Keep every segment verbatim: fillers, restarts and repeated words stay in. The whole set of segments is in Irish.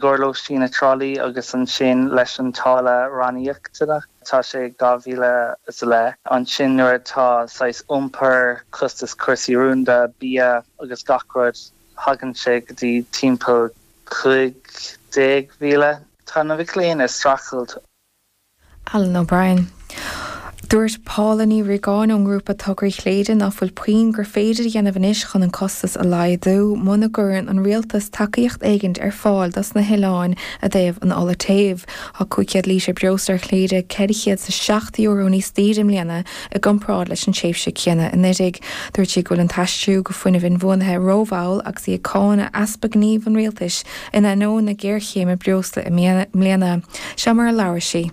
gcomhair lóistín i dTrá Lí agus ansin leis an táille ranníocaíochta tá sé dhá mhíle is a leith. Ansin nuair atá saghas iompar costas cúrsaí rúnda bia agus gach rud thagann sé go dtí timpeall cúig déag mhíle. Tá na mic léinn ag streachailt. Alan O'Brien. Dúirt Paula Ní Riagáin ón ngrúpa Tograí Chléire nach bhfuil puinn gur féidir a dhéanamh anois chun an costas a laghdú muna gcuireann an rialtas tacaíocht éigin ar fáil dos na hoileáin i dtaobh an ola téimh. Tá cúig chéad lítear breosla ar Chléire ceithre chéad is a seacht euro níos daoire i mbliana i gcomparáid leis an tréimhse chéanna anuraidh. Dúirt sí go bhfuil an t-aistriú go fuinneamh inbhuanaithe rómhall agus í ag cáineadh easpa gnímh an rialtais in ainneoin na géarchéime breosla i mbliana. Seo mar a labhair sí.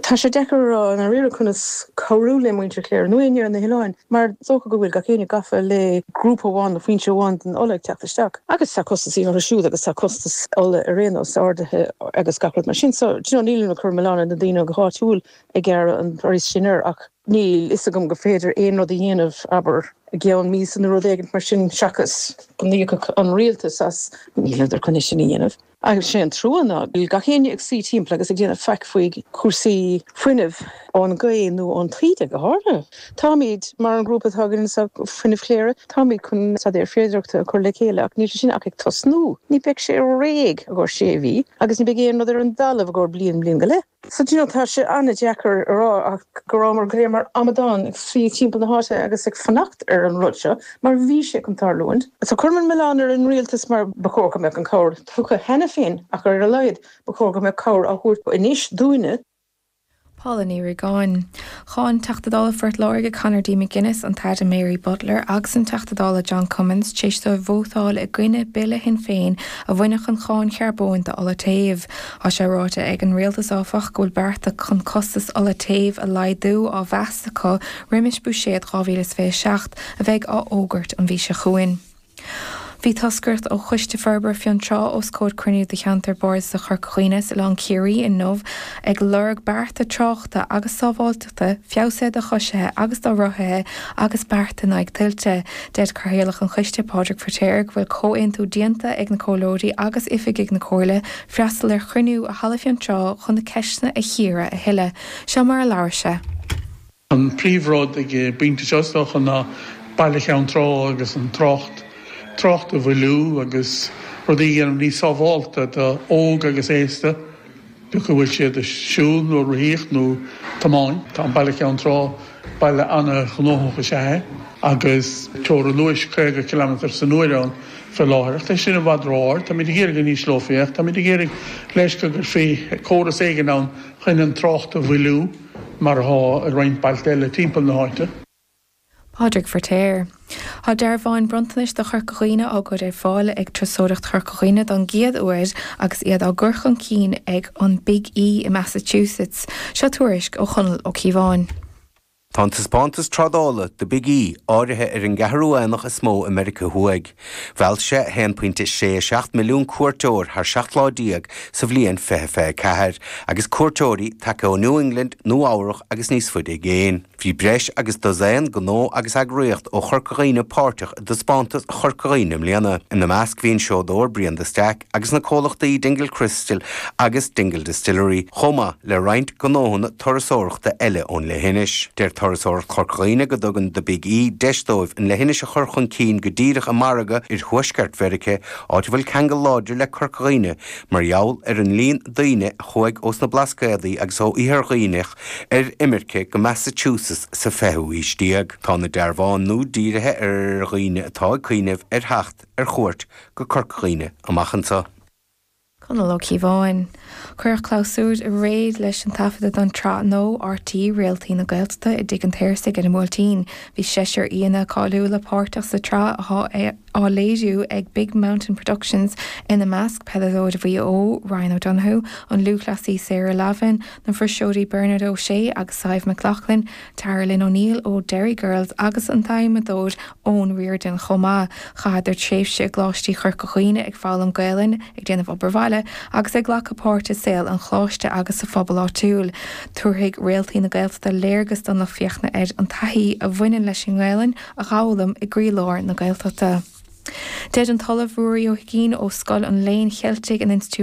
Tá sé deacair a rá i ndáiríre conas cabhrú le muintir Chléire nó éinne ar na hoileáin, mar is dócha go bhfuil gach éinne gafa le grúpa amháin nó foinse amháin den ola ag teacht isteach. Agus tá costas orthu siúd agus tá costas ola ar aon nós ardaithe agus gach rud mar sin. So do you know, nílim ag cur milleán ar na daoine go háitiúil ag gearradh an praghas sin air ach níl fhios agam go féidir aon rud a dhéanamh abair i gceann míosa nó rud éigin mar sin seachas go n-íocfadh an rialtas as níleadar chun é sin a dhéanamh. Agus sé an trua ná bhfuil gach éinne ag suí timpeall agus ag déanamh faic faoi chúrsaí fuinnimh ón ghaoth nó ón taoide go háirithe. Táimid mar an grúpa atá againn anseo Fuinneamh Chléire, táimid chun staidéar féidearthachta a chur le chéile ach níl sé sin ach ag tosnú. Ní bheidh sé réidh i gcomhair sé mhí agus ní bheidh aon rud ar an dtalamh i gcomhair bliain bliain go leith. So do you know, tá sé an-deacair a rá ach go rabhamar go léir mar amadáin ag suí timpeall na háite agus ag fanacht ar an rud seo mar bhí sé chun tarlúint. So cuirim an milleán ar an rialtas mar ba chóir go mbeadh an cabhair tugtha cheana féin ach ar a laghad ba chóir go mbeadh cabhair á thabhairt anois dúinne. Paula Ní Riagáin. Cháin Teachta Dála Phort Láirge Conor D. McGuinness an tAire Mary Butler agus an Teachta Dála John Cummins tar éis dóibh vótáil i gcoinne bille Shinn Féin a bhainfeadh an cháin charbóin d'ola téimh. Tá sé ráite ag an rialtas áfach go bhfuil bearta chun costas ola téimh a laghdú á mheas acu roimis buiséad dhá mhíle is fiche seacht a bheidh á fhógairt an mhí seo chugainn. Bhí toscaireacht ó Choiste Forbartha Fionntrá os comhair cruinniú de cheantar Bardasach Chorca Dhuibhne sa Oileán Ciarraí inniu ag lorg bearta tráchta agus sábháilteachta, feabhsaithe do choisithe agus do rothaithe agus bearta in aghaidh tuilte. Deir Cathaoirleach an Choiste Pádraig Feiritéar go bhfuil comhaontú déanta ag na comhairleoirí agus oifigigh na Comhairle freastal ar chruinniú i Halla Fionntrá chun na ceisteanna a chíoradh a thuilleadh. Seo mar a labhair sé. An príomhrud ag an bpointe seo is dócha ná baile Cheann Trá agus an trácht trácht a mhoilliú agus rudaí a dhéanamh níos sábháilte do óg agus aosta, bíodh go bhfuil siad ag siúl nó rothaíocht nó tiomáint. Tá an baile Ceann Trá, baile an-ghnóthach is ea é agus teorainn luais caoga ciliméadar san uair ann faoi láthair. Ach tá sin i bhfad ró-ard. Táimid ag iarraidh go n-ísleofaí é ach táimid ag iarraidh leis go gcuirfí córas éigin ann chun an trácht a mhoilliú mar atá i roinnt bailte eile timpeall na háite. Pádraig Feiritéar. Tá dearbháin bronntanais do Chorca Dhuibhne á gcur ar fáil ag Turasóireacht Chorca Dhuibhne don gcéad uair agus iad á gcur chun cinn ag an Big E i Massachusetts. Seo tuairisc ó Chonall Ó Cíobháin. Tá an taispeántas trádála The Big E áirithe ar an gceathrú aonach is mó i Meiriceá Thuaidh. Mheall sé a haon pointe sé a seacht milliún cuairteoir thar seacht lá déag sa bhliain fiche fiche a ceathair, agus cuairteoirí tagtha ó New England, Nua Eabhrac agus níos faide i gcéin. Bhí breis agus dosaen gnó agus eagraíocht ó Chorca Dhuibhne páirteach i dtaispeántas Chorca Dhuibhne i mbliana. Ina measc bhí an seodóir Brian de Staic agus na comhlachtaí Dingle Crystal agus Dingle Distillery, chomh maith le roinnt gnóthanna turasóireachta eile ón leithinis. Deir Turasóireacht Chorca Dhuibhne go dtugann The Big E deis dóibh an leithinis a chur chun cinn go díreach i margadh oirthuaisceart Mheiriceá, áit a bhfuil ceangal láidir le Corca Dhuibhne mar gheall ar an líon daoine a chuaigh ós na Blascaodaí agus ó Iarthar Dhuibhneach ar imirce go Massachusetts sa fichiú haois déag. Tá na dearbháin nua dírithe ar dhaoine atá ag cuimhneamh ar theacht ar chuairt go Corca Dhuibhne amach anseo. Conall Ó Cíobháin. Cuireadh clabhsúr aréir leis an taifeadadh don tsraith nua RTÉ Réaltaí na Gaeltachta i dTigh an tSaorsaigh ar an mBuailtín. Bhí seisear aíonna cáiliúla páirteach sa tsraith atá á léiriú ag Big Mountain Productions, ina measc peileadóir Mhaigh Eo, Ryan O'Donoghue, an lúthchleasaí Sarah Lavin, na fuirseoirí Bernard O'Shea agus Sadhbh McLaughlin, Tara Lynn O'Neill ó Derry Girls agus an t-adhmadóir Eoin Riordan chomh maith. Chaitheadar tréimhse i gColáiste Chorca Dhuibhne ag foghlaim Gaelainne, ag déanamh obair bhaile agus ag glacadh páirte i saol an choláiste agus sa phobal áitiúil. Tabharfaidh Réaltaí na Gaeltachta léargas don lucht féachana ar an taithí a bhaineann leis an nGaelainn a dh'fhoghlaim i gcroílár na Gaeltachta. Deir an tOllamh Ruairí Ó hUiginn ó Scoil an Léinn Cheiltigh in Institiúid